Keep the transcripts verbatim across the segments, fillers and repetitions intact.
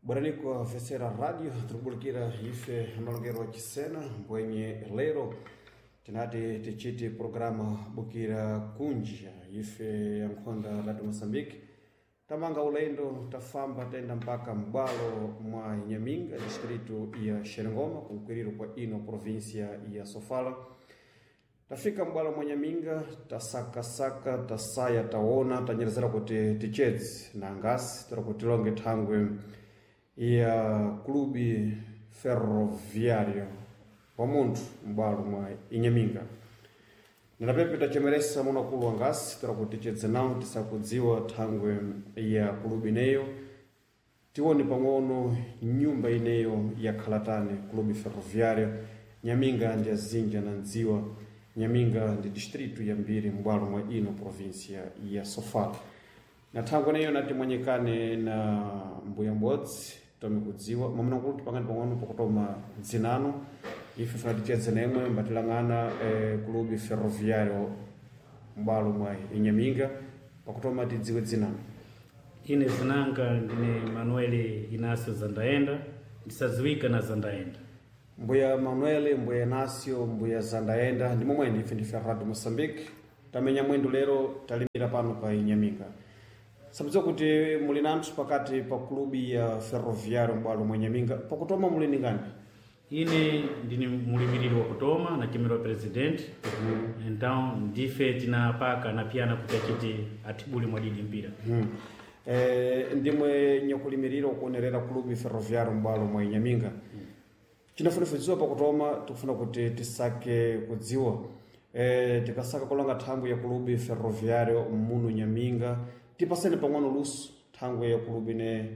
Bwananiko Vesera Radio tikubulikira ife amalongero wa Chisena mbwenye lero tinati tichiti programa bukira kunja ife ya nkhonda Radio Mozambique tamanga ulendo tafamba tenda mpaka mbwalo mwa Inhaminga distrito ya Xerengoma kunkwiriro kwa ino província ya Sofala. Tafika mbwalo mwa Nyaminga, tasakasaka, tasaya, taona, tanyerezera kuti tichedzi na ngasi tira kuti tilonge thangwe ya Clube Ferroviário wa munthu m'bwalo mwa Inhaminga. Ninapepe tachemeresa munakulu wa ngasi tira kuti tichedze nawo tisakudziwa thangwe ya kulubi ineyo, tione pang'ono nyumba ineyo yakhalatani Clube Ferroviário Nyaminga ndi azinja na ndziwa. Nyaminga ndi distrito ya mbiri m'bwalo mwa ino província ya Sofala. Na thangwe ineyo nati mwanyekane na mbuya m'bodzi tome kudziwa mwamuna tipangani pang'ono pakutoma dzinano ife funa tichedze nemwe mbatilang'ana eh, Clube Ferroviário m'bwalo mwa Inhaminga pakutoma tidziwe dzinano. Ine zinanga ndine Manuel Inácio Zandaenda, ndisadziwika na Zandaenda. Mbuya Manuel, mbuya Inácio, mbuya Zandaenda ndi momweni ife ndife Radio Mozambique tamenya mwendo lero talimira pano pa Inhaminga. Sabudziwa kuti muli nanthu pakati pa klubi ya Ferroviário m'bwalo mwa Inhaminga pakutoma muli ningani? Ine ndine mulimiriri wa kutoma nachemerwa president. Então ndife tinapaka na piyana kuti achiti atibule mwadidi mpira. Hmm. Eh, ndimwe nyakulimirira ukuonerera klubi Ferroviário m'bwalo mwa Inhaminga. Chinafuna kudziwa pakutoma tikufuna kuti tisake kudziwa eh, tikasaka kulonga thangwe ya klubi Ferroviário muno Nyaminga tipaseni pang'ono luso thangwe ya klubi ne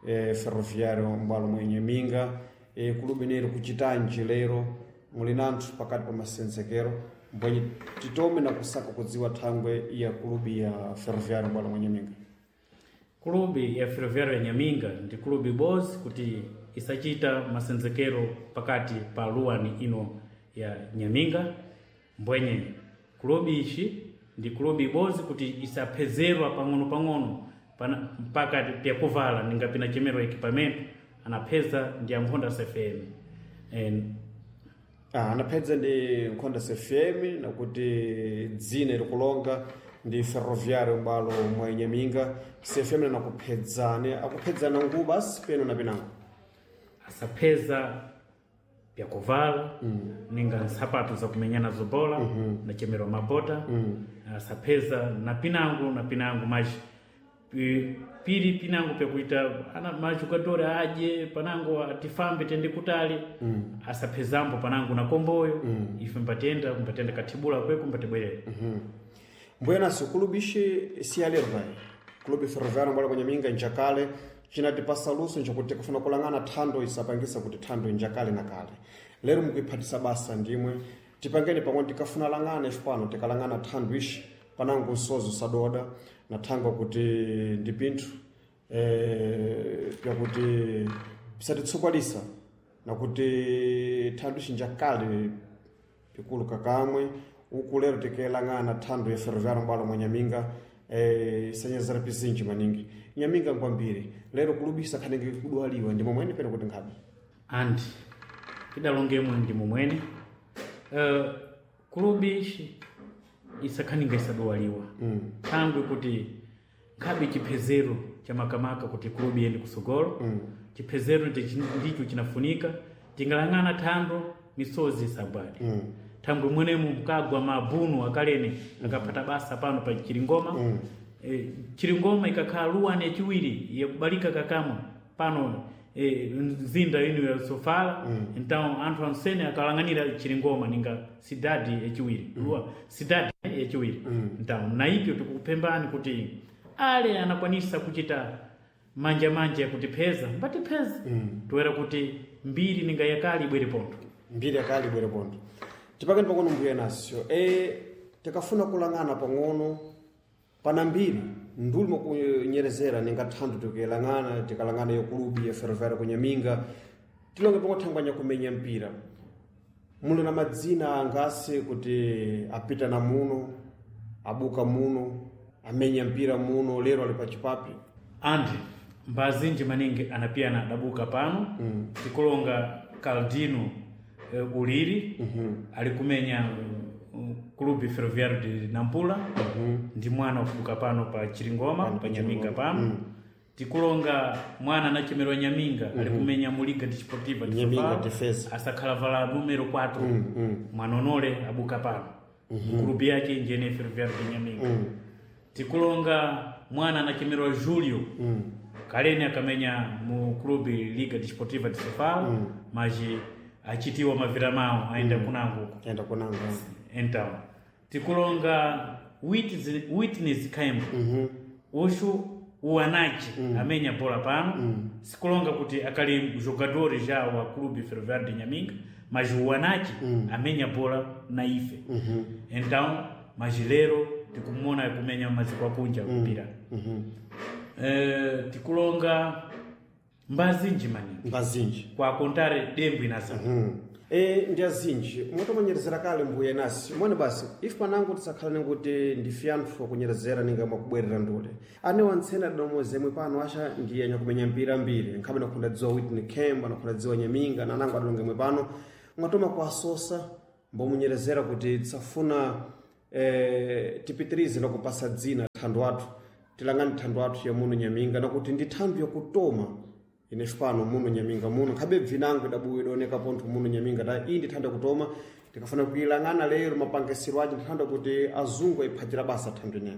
eh, Ferroviário m'bwalo mwa Nyaminga eh, klubi ne kuchitanji lero muli nanthu pakati pa masenzekero mbwenye titome na kusaka kudziwa thangwe ya klubi ya Ferroviário m'bwalo mwa Nyaminga. Kulubi ya Ferroviário ya Nyaminga ndi kulubi bozi kuti isachita masenzekero pakati pa luwani ino ya Nyaminga. Mbwenye kulubi ichi ndi kulubi bozi kuti isaphezerwa pang'ono-pang'ono pana- mpaka pyakuvala ninga pinachemerwa equipamento anapheza ndi ankhonda C F M. En, Ah, anaphedza ndi nkhonda C F M nakuti dzina likulonga ndi Ferroviário m'bwalo mwa Inhaminga. C F M nakuphedzani akuphedzana ngubu basi peno na pinango. Asapheza pyakuvala mm. ninga nsapato zakumenyana zobola mm -hmm. nachemerwa mabota mm. Asapheza na pinango na pinango mas pi- pili pinango pyakuita ana majugadori aje panango atifambe tende kutali mm. Asaphezambo panango na komboyo mm. Ife mpatenda mpatenda kathibula kweko mpatibwerera. mm -hmm. Mbuya naso kulubi ishi siyalero vai Clube Ferroviário m'bwalo mwa Nyaminga njakale cinatipasa luso njakuti kufuna kulang'ana thando isapangisa kuti thando njakale na kale lero mukuiphatisa basa ndimwe tipangeni pamwe tikafuna lang'ana ife pano tikalang'ana thando ishi panango msozo sadoda na thangwa kuti ndi pinthu eh, pyakuti pisatitsukwalisa nakuti thando ishi njakale pikulu kakamwe uku lero tikelang'ana thando ya Ferroviário m'bwalo mwa Nyaminga eh, isanyezera pizinji maningi Nyaminga ngwambiri lero kulubisa khanenge kudwaliwa ndi momwene peno kuti nkhabe. Andi tidalongemwe ndi momwene uh, kulubi ishi isakhaninga isadwaliwa mm. Thangwe kuti nkhabe chiphezero cha makamaka kuti kulubi iyende kusogolo mm. Chiphezero ndichi- ndicho chinafunika tingalang'ana thando misozi isagwade mm. Thangwe mwenemu mkagwa mabunu akalene akaphata basa pano pa Chiringoma mm. E, Chiringoma ikakhala luwani yachiwiri yakubalika kakamwa pano e, mzinda ino ya Sofala mm. Então anthu ansene akalang'anira Chiringoma ninga cidade yachiwiri mm. Luwa cidade yachiwiri mm. Então na ipyo tikupembani kuti ale anakwanisa kuchita manja manja yakutipheza mbatipheza mm. Toera kuti mbiri ninga yakali ibwere pontho. Mbiri yakali ibwere pontho tipakeni pang'ono mbuya nasio e, tikafuna kulang'ana pang'ono pana mbiri nduli mwakunyerezera ninga thando tikelang'ana tikalang'ana ya kulubi ya Ferroviário kunyaminga tilonge pang'ono thangwanya kumenya mpira muli na madzina angasi kuti apita na muno abuka muno amenya mpira muno lero ali pachipapi? Andi Mbazinji maningi anapiyana adabuka pano mm. Tikulonga Caldino uh, Uliri mm -hmm. alikumenya um, Clube Ferroviário de Nampula mm -hmm. ndi mwana wakubuka pano pa Chiringoma pa Nyaminga pano mm. Tikulonga mwana anachemerwa Nyaminga mm -hmm. alikumenya mu Liga Desportiva de Nyaminga Defesa asakhala vala numero quatro mm -hmm. mwanonole abuka pano mm -hmm. Clube yake njene Ferroviário de Nyaminga mm. Tikulonga mwana anachemerwa Julio mm. Kaleni akamenya mu clube Liga Desportiva de Sofala mm. maji achitiwa mavira mao aenda mm. kunango uko aenda kunango então tikulonga Witness, Witness Kaimbo mm -hmm. ushu uanachi mm. amenya bola pano mm. Sikulonga kuti akali jogador já wa clube Ferroviário de Nhaminga, mas uanachi mm. amenya bola na ife mm -hmm. Então majilero tikumona kumenya maziko akunja kupira mm -hmm. Uh, tikulonga mbazinji maningi mbazinji kwa kontare dembo inasa mm -hmm. E ndi azinji motomanyerezera kale mbuye nasi mwene basi ife panango tisakhala ninguti ndife anthu akunyerezera ninga mwakubwerera ndule ane wantsena domo zemwe pano acha ndiye nyakumenya mpira mbiri nkhabe nakhunda dziwa Whitney Kemba nakhunda dziwa Nyaminga nanango adalonga mwe pano mwatoma kuasosa mbomunyerezera kuti tisafuna eh, tipitirize nakupasa dzina thando athu tilangani thando athu ya muno Nyaminga nakuti ndi thando yakutoma inefe pano muno Nyaminga muno nkhabe bvinango idabuwa idaoneka pontho muno Nyaminga ta iyi ndi thando yakutoma tikafuna kuilang'ana lero mapangisiro ace ndi thando kuti azungu ayiphachira basa thando ineyo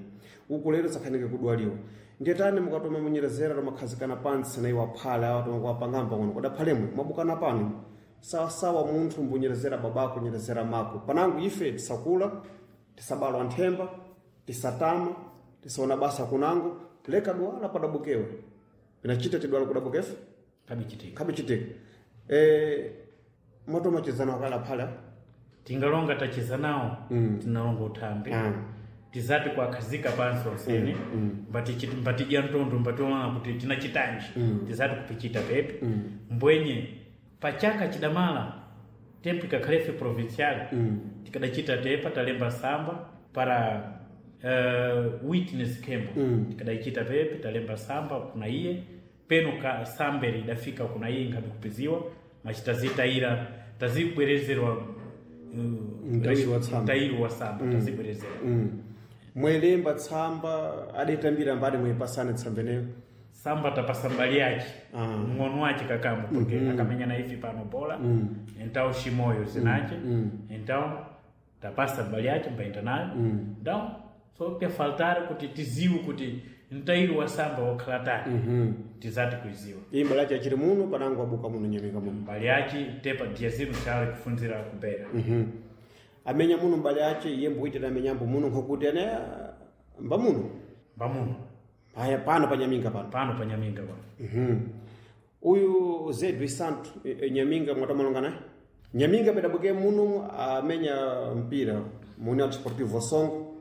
uku lero sakhanike kudwaliwa ndiye tani mukatoma munyerezera tomakhazikana pansi na iwo aphale awa tomakuwapangamba kuno kodaphalemwe mwabukana pano sawasawa munthu mbunyerezera babako nyerezera mako panango ife tisakula tisabalwa nthemba tisatama tisaona basa kunango leka dwala padabukewe pinachita tidwala kudabukefe kabichitika kabichitika e, motomachezana wakala phala tingalonga tacheza nawo mm. tinalonga uthambi mm. Tizati kwakhazika pansi onsene mm. mm. mbatidya mtondo mbationa kuti tinachitanji mm. Tizati kupichita pepe mm. Mbwenye pachaka chidamala tempo ikakhalefe provincial mm. Tikadachita tepa talemba samba para uh, Witness Kembo mm. Tikadaichita pepe talemba samba kuna iye peno ka samberi idafika kuna iye nkhabe kupiziwa machitazitayira tazibwerezerwa mtairi wa tsamba mtairi wa tsamba mm. Tazibwerezera mm. Mwelemba tsamba adetambira mbali mwepasane tsamba eneyo samba tapasa mbali yace ah. Mng'ono wace kakamo porque mm -hmm. akamenya na ife pano bola mm. Então Shimoyo zinace mm. Então tapasa mbali yace mbaenda nayo mm. Então so ke faltar kuti tiziwe kuti mtairi wa samba wakhala tani mm -hmm. Tizati kuiziwa iyi mbali yace achiri muno panango abuka muno Nyaminga muno mbali yace tepa dia zinu chale kufunzira kubera mm -hmm. Amenya muno mbali yace iye mbuitira amenyambo muno nkokuti ane mba muno mba muno aya pano pa Nyaminga pano pano pa Nyaminga pano mm -hmm. Uyu Zedwi Santo e, e, Nyaminga mwatamalonga naye Nyaminga pedabuke muno amenya mpira mu União Desportivo Songo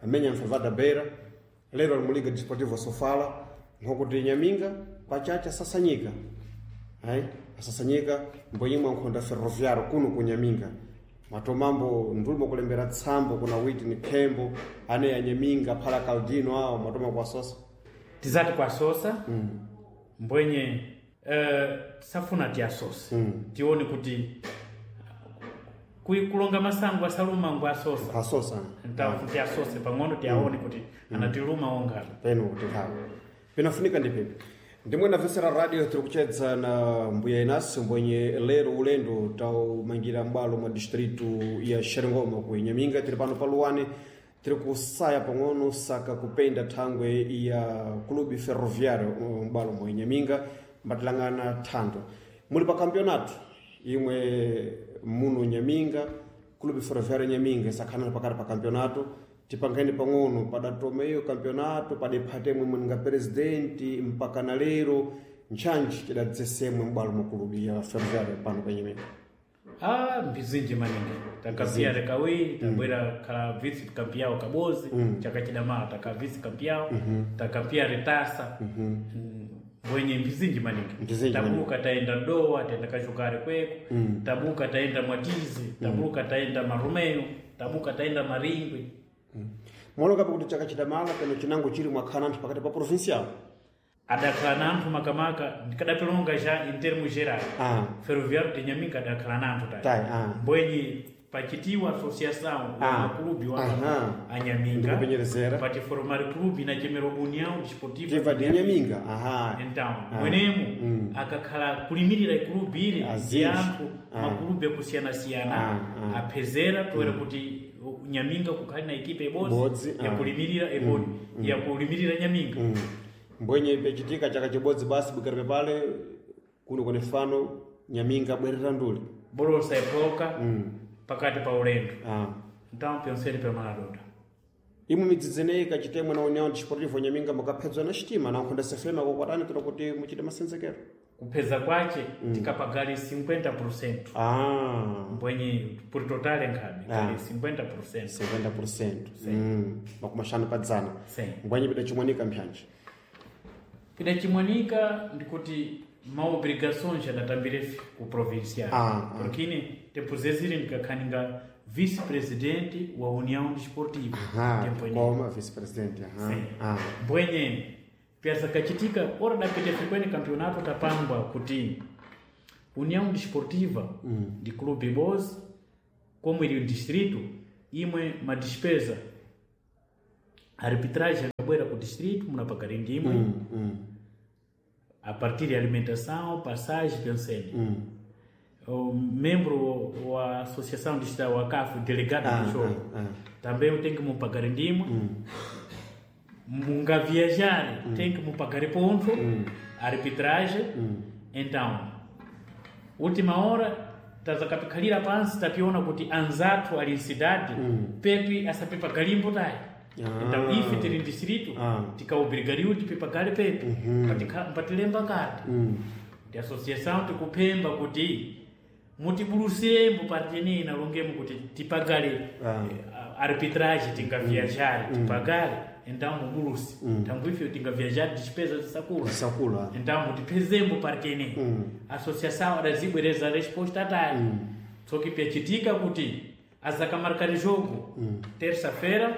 amenya mfevada Beira lero ali mu Liga Desportivo Sofala nkokuti Nyaminga pachacha asasanyika ai asasanyika mbonyimwe nkhonda Ferroviário kuno ku Nyaminga matomambo ndulimo kulembera tsambo kuna Whitney Kembo ane ya Nyaminga phala Caldino awo matoma kwasosa tizati kwasosa mm. Mbwenye uh, tisafuna tiasose mm. Tione kuti kulonga masango asaluma ngwa asosa asosa então tiasose pang'ono tiaone mm. kuti anatiluma ongala peno kuti hawo pinafunika ndi pepe ndimwe namvesera radio tiri kuchedza na mbuya Inasi mbwenye lero ulendo taumangira m'bwalo mwa distritu ya Xerengoma ku Nyaminga tiri pano pa Luwane tiri kusaya pang'ono saka kupenda thangwe ya Clube Ferroviário m'bwalo mwa Nyaminga mbatilangana thando muli pa campeonato imwe muno Nyaminga Clube Ferroviário Nyaminga isakhanana pakati pa campeonato tipangeni pang'ono padatoma iyo campeonato padephatemwe mweninga presidenti mpaka na lero ntchantchi tidadzesemwe m'bwalo mwa kulubi ya Ferroviário pano pa Nyaminga ah mbizinji maningi takapiya kawiri tabwera khala vice kampiyawo kabozi mm. Chaka chidamala taka vice kampiyawo mm -hmm. Takapiya retasa mm -hmm. Mbwenye mbizinji maningi tabuka taenda Dowa taenda Kachukare kweko mm. Tabuka taenda Mwatizi tabuka taenda Marumeyo tabuka taenda Maringwe Mm. Mwalokapo kuti chaka chidamala pano chinango chili mwakhala anthu pakati pa provincial Adakhala nanthu makamaka ndikadapilonga ja em termos gerais. Ah. Ferroviário de Nhaminga adakhala nanthu tayi. Tayi, ah. Mbwenye pachitiwa associação Ah. makulubi wa Aha. anyaminga Ndikupenyerezera. patiformar clube inachemera União Desportiva Tiva de Nhaminga. Aha. Então, Ah. mwenemu Mm. akakhala kulimirira ikulubi ili Azinji. anthu Ah. makulubi akusiyana-siyana Ah, ah. aphezera toera kuti Nyaminga kukhali na ekipa Ibodzi, ibodzi ah. yakulimirira ebodi yakulimirira Nyaminga. Mm. Mbwenye pechitika chaka chibodzi basi bukaripe pale kuno kune fano Nyaminga bwerera nduli. Bolosa iphoka Mm. pakati pa ulendo. Ah. Então pensei pa Maradona. Imwe midzi ineyi kachitemwe na União Desportiva Nyaminga mukaphedzwa na xitima na nkhonda sefema kokwatani tola kuti muchite masenzekero. Kupheza kwace tikapagali cinquenta por cento. Ah. Mbwenye por total nkhabe Ah. kali cinquenta por cento. cinquenta por cento. Mm. Makumi axanu pa dzana. Sim. Mbwenye pidachimwanika mphyanje. Pidachimwanika ndikuti maobrigações adatambire ku provincial. Ah, ah. Porque ine tempo zeziri ndikakhaninga vice-presidente wa União Desportiva. Aha, Tempo ine. koma vice-presidente. Aha. Sim. Ah. Mbwenye pyasa kachitika ora dapita fikweni campeonato tapangwa kuti União Desportiva mm. de Clube Boss como ili distrito imwe madespesa arbitragem akabwera ku distrito munapagari ndimwe Mm, mm, a partir de alimentação, passagem, pensei. mm. O membro wa associação distrital wa C A F, delegado Ah, do jogo, ah, ah. também tem que me pagar ndimwe. Munga viajar, tem que me pagar ponto, arbitragem. Então, última hora, tazakapikhalira pansi tapiona kuti anzathu ali mcidade pepi asapepa galimbo tayi. Ah. Então ife tili distrito Ah. tikaobrigariwa tipepagale pepi Mpatikha- mpatilemba kati Mm. ndi associação tikuphemba kuti mutibulusirembo patini inalongemo kuti tipagale Ah. eh, arbitragem tingaviajare tipagale, então mubulusi tambo ife tingaviajare despesa zisakula. Sakula. Então mutipezembo partini. Mm. Associação adazibwereza resposta tayi tsoki pyachitika kuti azakamarkari jogo terça-feira,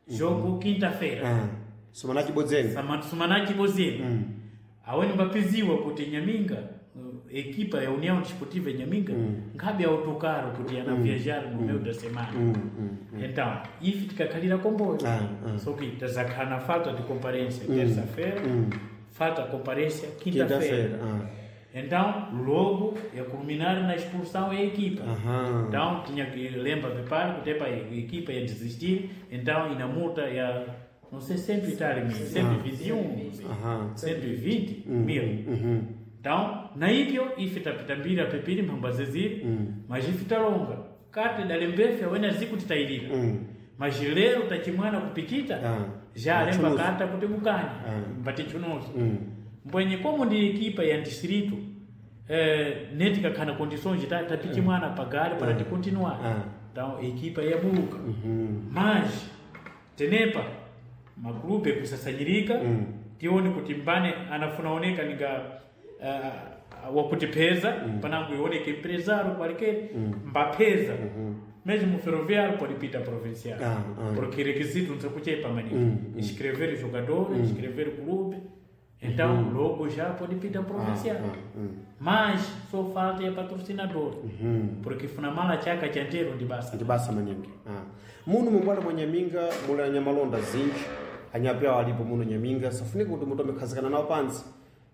jogo quinta-feira. Ah. Somana chibodzeni. Sumana chibozeni Mm. aweni mbapiziwa kuti Nyaminga uh, equipa ya União Desportiva ya Nyaminga nkhabe autocaro kuti ana viajar no meio da semana. Mm, mm. Então ife tikakhalira comboio. Ah, ah. Só que tazakhala na falta de comparência terça-feira, falta de comparência quinta-feira. Quinta-feira. Ah. Então logo ia culminar na expulsão a equipa. Aham. Então tinha que lembra preparo que a equipa ia desistir, então e na multa ia não sei cento e tal mil, cento e vinte e um, Aham. cento e vinte mil. Uhum. Então, na ipyo ife tapitambira pepiri mphamba zeziri, mas ife talonga. Kati dalembefe wena ziku titayilira. Mm. Mas lero tachimwana kupichita Ah. já alemba Chunuzo. kata kuti mukanye Ah. mbatichunuzo. Mm. Mbwenye como ndi equipa ya distrito eh, netikakhana condições ta tapichimwana pagale para ticontinuar. Ah. Então equipa yabuka. Uhum. Mas tenepa maklube kusasanyirika Mm. tione kuti mbane anafuna oneka ninga uh, wakutipeza mm. panango ioneke empresário qualquer mbapeza mesmo ferroviário pode pita provincial Ah, ah. porque requisito não se kuchepa maningi Mm, inscrever o jogador, inscrever o clube, então logo já pode pita provincial. Ah, ah, mas só falta é patrocinador Uhum. porque funamala chaka chantero ndi basa. Ndi basa maningi. Ah. Muno mumbwalo mwa Nyaminga muli anyamalonda zinji anyapewa alipo muno Nyaminga safunika kuti mutu amekhazikana nawo pansi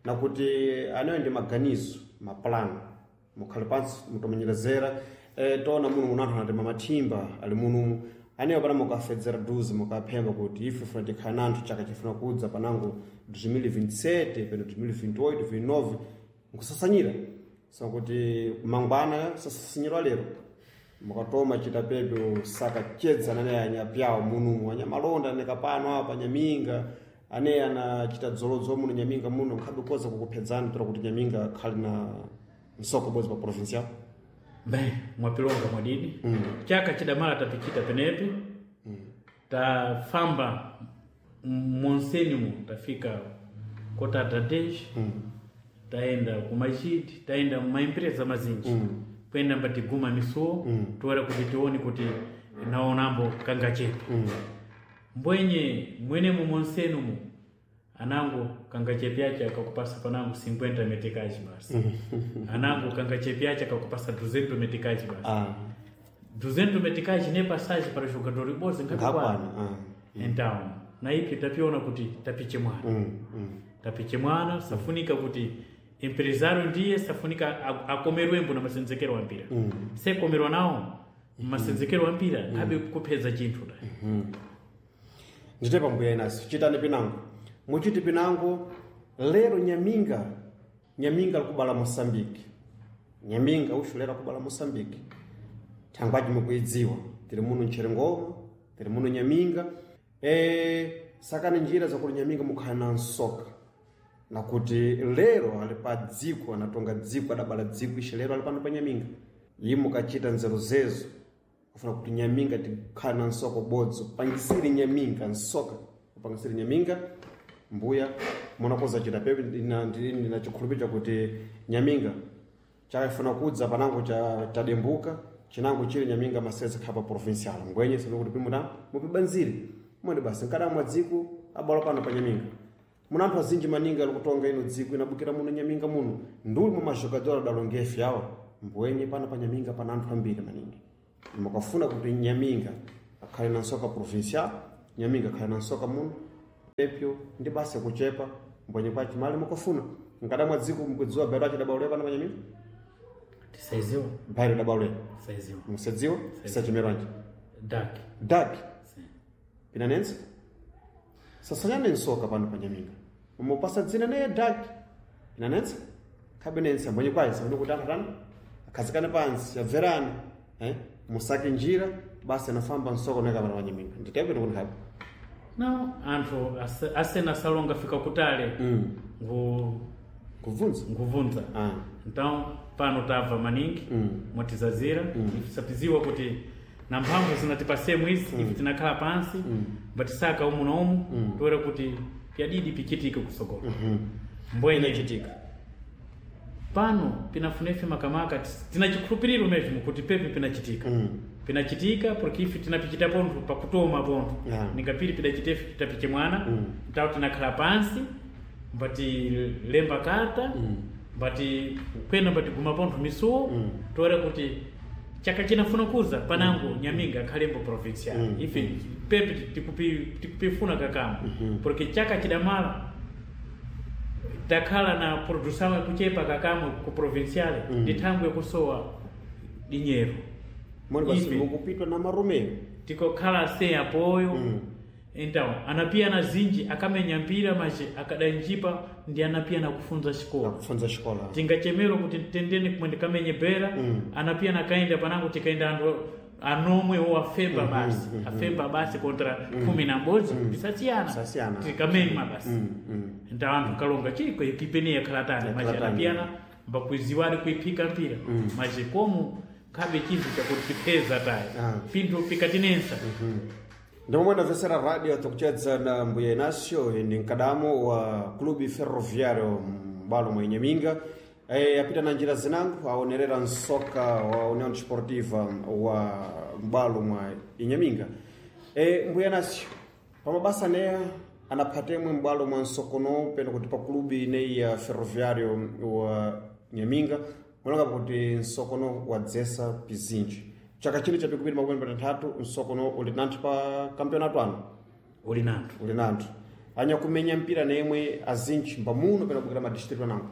na kuti anayo ndi maganizo mapulani mukhale pansi mutomanyerezera eh, tona muno muno anthu anatema mathimba ali muno aneyo pana mukafedzera duzi mukaphemba kuti ife funa tikhala nanthu chaka chifuna kudza panango dois mil e vinte e sete peno dois mil e vinte e oito vinte e nove nkusasanyira sakuti mangwana sasasanyirwa lero mukatoma chita pepe saka chedza nane anyapyawo munumu anyamalonda nekapano apa Nyaminga ane anachita dzolodzo muno Nyaminga muno nkhabe koza kukuphedzani tola kuti Nyaminga khali na msoko bodzi pa provincial. Bem, mwapilonga mwadidi mm. Chaka chidamala tapichita penepi mm. Tafamba monsenimu tafika kota Tadej mm. Taenda kumajidi, taenda mumaempresa mazinji mm. Kwenda mbatiguma misuwo mm. Toera kuti tione kuti naonambo kangachepa mm. Mbwenye mwenemu monsenumu Anangu kangachepyache akakupasa panangu cinquenta metikaji basi. Anangu kangachepyache akakupasa duzentos metikaji basi. Ah. duzentos metikaji ne passagem para jogador boze Ngakwana. ngakwana. Ah. Então, na ipi tapiona kuti tapiche mwana. Mm. Mm. Tapiche mwana safunika kuti empresário ndiye safunika a- akomerwembo na masenzekero wa mpira. Mm. Sekomerwa nawo masenzekero wa mpira abe kupeza chinthu da. Ndite pambuya inaso chitani pinango muchiti pinango lero nyaminga nyaminga likubala moçambique nyaminga uxu lero akubala moçambique thangwaji mukuidziwa tiri muno mcherengoma tiri muno nyaminga e, sakani njira zakuti nyaminga mukhala na nsoka nakuti lero ali pa dziko anatonga dziko adabala dziko ixe lero ali pano pa nyaminga yi mukachita nzeru zezo kufuna kuti nyaminga tikhala na nsoka ubodzi upangisire nyaminga nsoka upangisire nyaminga mbuya munakoza chita pepe ndina ndina chikhulupiriro chakuti nyaminga chakafuna kudza panango cha chadembuka chinango chili nyaminga maseza khapa provincial ngwenye sino kuti pimuta mupibanzire mwene basi nkadamwa dziko abala pano pa nyaminga muna anthu azinji maningi ali kutonga ino dziko inabukira muno nyaminga muno nduli mwa majogador adalongefe awa mbwenye pano pa nyaminga pana anthu ambiri maningi mukafuna kuti nyaminga akhale na nsoka provincial nyaminga akhale na nsoka muno epyo ndi basi kuchepa mbwenye kwa chimali mukafuna nkadamwa dziko mukudziwa bhairo achidabaulira pano pa nyaminga Tisaiziwa, bhairo dabaulira tisaiziwa. musadziwa sachimeranje Dak. dak Sim. pinanenso sasanyane nsoka pano pa nyaminga umupasa dzina neye dak pinanenso khabenense mbwenye kwayi sabene kuti anthu atani akhazikane pansi abverane eh? musake njira basi anafamba nsoka uneka pano pa nyaminga nditepeno kuti khabe Não, anthu ase- asena salonga fika kutale mm. ngu kubvunza nguvunza. ah. Então, pano tava maningi mm. mwatizazira mm. sapiziwa kuti na mphamvu zinatipasemu izi mm. ife tinakhala pansi mm. mbatisaka umu na umu mm. toera kuti pyadidi pichitike kusokolo mm mm-hmm. mbwenye inachitika pano pinafunefe makamaka tis- tina chikhulupiriro mesmo kuti pepe pinachitika mm. pinachitika porque ife tinapichita pontho pakutoma pontho Yeah. ningapiri pidachitefe tapiche mwana Mm. ntawo tinakhala pansi mbati lemba karta Mm. mbati kwena mbati guma pontho misuwo Mm. toera kuti chaka chinafuna kuza panango nyaminga akhalembo provincial Mm. ife pepe tikupi tikupifuna kakamo porque chaka chidamala takhala na produção yakuchepa kakamwe ku provincial Mm. ndi thangwe yakusowa dinyero mwene basi Ife. mukupitwa na maromeo tikokhala sem apoio Mm. então anapia na zinji akamenya mpira mas akadanjipa ndi anapia na kufunza xikola akufunza xikola tingachemero kuti tendeni kumwe ndikamenye bera Mm. anapia nakaenda panango tikaenda anthu anomwe wo afemba basi afemba basi contra kumi na mbodzi tisasiyana Tisasiyana. tikamema basi mm. mm. então anthu kalonga chiko ekipe yakhala tani mas Yakhala tani. anapiyana mbakuiziwani kuiphika mpira mas como khabe chinthu chakuti tipheza tayi Ah. pinthu pikatinensa ndimomwe ndamvetsera radio tikuchedza na mbuya inacio ndi mkadamo wa clube ferroviário m'balo mwa inhaminga e, apita na njira zinango aonerera nsoka wa união desportiva wa m'balo mwa inhaminga e, mbuya inacio pamabasa neya anaphatemwe m'bwalo mwa nsokono pena kuti pa clube ineyi ya ferroviário wa nyaminga mulanga kuti nsokono wadzesa pizinji chaka chino cha pikupiri makumi patatu nsokono uli nanthu pa kampeonato ano uli nanthu uli nanthu anyakumenya mpira nemwe azinji mbamuno pena kubwera madistritu anango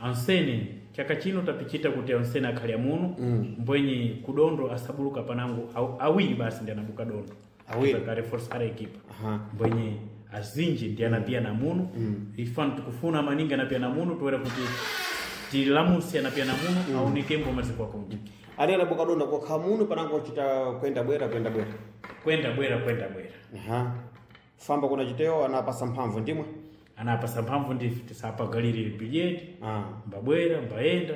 ansene chaka chino tapichita kuti ansene akhale amuno mm. mbwenye kudondo asabuluka panango aw, awiri basi ndi anabuka dondo Awiri. akareforsara ekipa Aha. mbwenye azinji ndi anapia na muno mm. ifano tikufuna maningi anapia na muno toera kuti tilamuse anapia na muno mm. aonekembo maziko akunja ali anabuka donda kokha muno panango achita kwenda bwera kwenda bwera kwenda bwera kwenda bwera Aha. famba kuna chiteyo anapasa mphamvu ndimwe anapasa mphamvu ndife tisapagalire bilhete ah. mbabwera mbaenda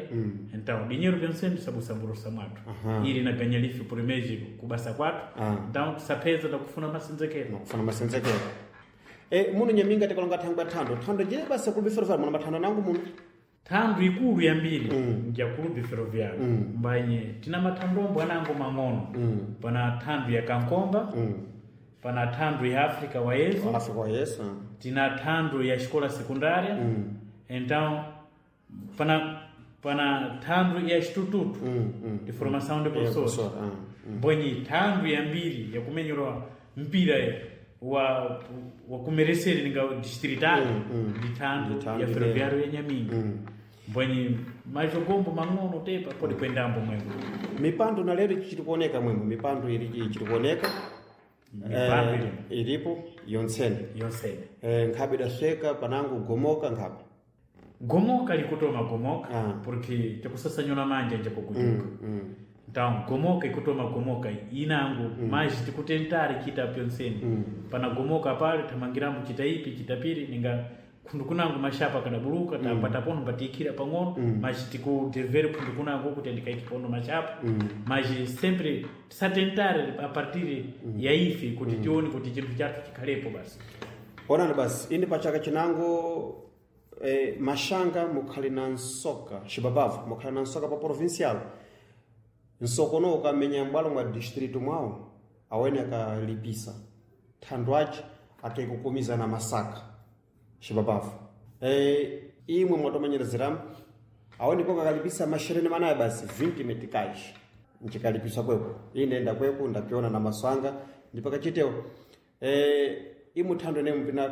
então dinheiro pensendo tisabusambulusa mwathu ili naganya life por mês kubasa kwathu Ah. então tisapeza takufuna masenzekero nakufuna masenzekero e, muno nyaminga tikalonga thangwe thando thando je basa clube ferroviário muno mathando nangu muno thandu ikulu yambiri mm. ya clube ferroviário mm. mbanye tina mathandombo anango mang'ono mm. pana thandu ya kankomba mm. Pana thandwe ya África wa Yesu, África wa Yesu. Tina thandwe ya escola secundária. Então pana pana thandwe ya instituto Mm, mm. de formação de É, professores. professor, ah, Mbwenye thandwe ya mbiri yakumenyerwa mpira wa wa kumereseri ninga distrital ndi thandwe Ndi thandwe ya ile. ferroviário ya Nyaminga. Mbwenye majogombo mang'ono tepa pode kwendambo mwemwe. Mipando na lero ichiri kuoneka mwemwe, mipando iri ichiri kuoneka. Mipando Eh, ilimo. ilipo yonsene. Yonsene. Eh, nkhabe idasweka panango gomoka nkhabe. Gomoka likutoma gomoka, Ah. porque tikusasanyula manja nje kukujuka. Mm. Então gomoka ikutoma gomoka inango, mm. mas tikutentare chita pyonseni. mm. Pana gomoka pale tamangirambo chita ipi chita piri ninga khundu kunango mashapa kadabuluka, mm. tapata pono patiikira pang'ono, mm. mas tikudevere khundu kunango kuti andikaiki pono mashapa. mm. Mas sempre tisatentare a partir mm. ya ife kuti mm. tione kuti chinthu chathu chikhalepo basi. Onani basi indi pachaka chinango, eh, mashanga mukhali na nsoka xibabavu mukhali na nsoka pa provincial, nsokono ukamenya m'bwalo mwa distrito mwawo awene akalipisa thandu ace akaikukumiza na masaka xibabavu. Eh, imwe mwatomanyerezeramu awene poko akalipisa mashereni manaye basi vinte meticais nchikalipisa kweko ine nda kweko ndapiona na maswanga ndipakachitewo, eh, imwe thando ine mpina.